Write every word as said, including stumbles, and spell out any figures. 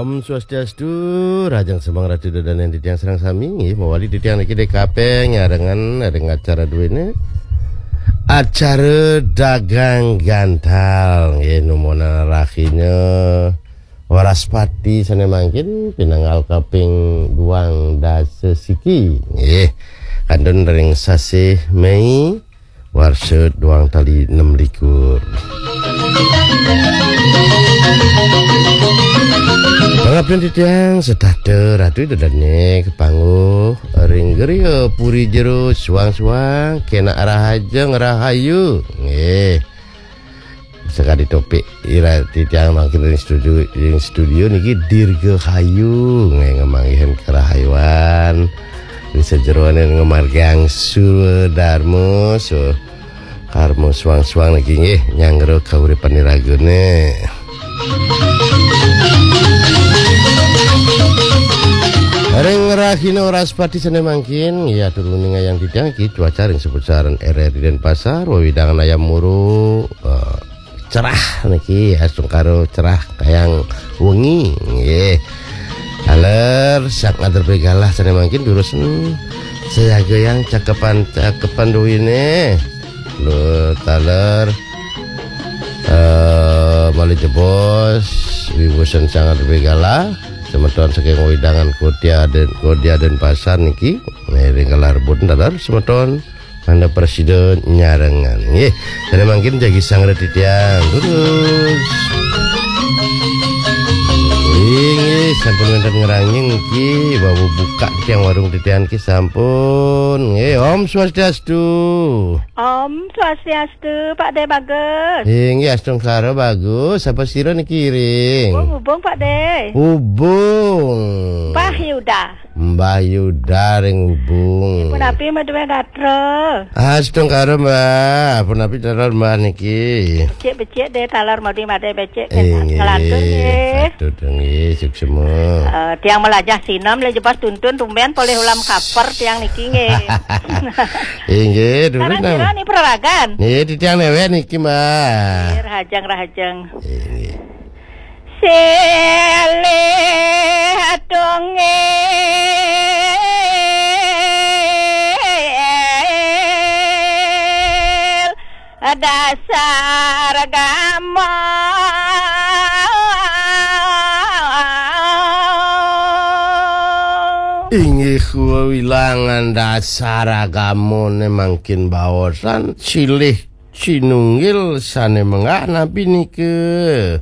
Om Swastiastu, rahajeng semeng ratu dadan titiang sareng sami, nggih, mawali titiang niki D K P nyarengan ring acara duene. Acara dagang gantal, nggih, numonan rahina Wraspati sane mangkin pinanggal kaping duang dasa siki, nggih. Kantun ring sasih Mei, warsa duang tali nem likur. Pangapten titiang setata ratu ida dane kapanguh ring griya puri jero suang-suang kenak rahajeng rahayu. Nggih. Sekadi topik ira titiang mangkin ring studio, ring studio niki dirgahayu nggih ngamanggihin karahayuan. Di sajeroning ngamargiang swadarma, so karma suang-suang niki nggih nyanggra kauripan iragane. Ring rahina Wraspati sane mangkin, ya turun ning ayang titiang iki cuaca ring sepusaran R R I Denpasar, wewidangan ayam muru, eh, cerah niki, astungkara cerah kayang wengi, nggih. Taler, sak ngadrepe galah sane mangkin durus, hmm, sayagayang cakepan-cakepan duwine. Lho, taler, eh, malih jebos, wiwusan sangat galah, semeton saking wewidangan Kodia Den, Kodia Denpasar niki, ngiring galah rebut taler, semeton mangda prasida nyarengan. Nggih, sane mangkin jagi sangra titiang. Durus. Inggih, sampun wenten ngrangin niki, wau buka tiang warung titiang niki sampun. Nggih, Om Swastiastu. Om Swastiastu, Pak De Bagus. Inggih, astungkara Bagus. Sapa sira niki ring? Hubung, hubung, Pak De. Hubung. Mbah Yuda. Mbah Yuda ring Hubung. Punapi madué gatra? Astungkara, Mbah. Punapi taler, Mbah, niki? Becik-becik deh taler mudi madé becik. Inggih, ngelantur nggih. Patut nggih, suksma. Eh, tiang melajah sinem le jebos tuntun tumben polih ulam kaper tiang niki nggih. Inggih, durus. Sareng sira ni peraragan? Nggih, titiang newek niki, Mbah. Nggih, rahajeng, rahajeng. Inggih. Silih tunggil dasar gama. Inggih, wilangan dasar agamane mangkin baosan silih cinunggil sane menggah napi nika?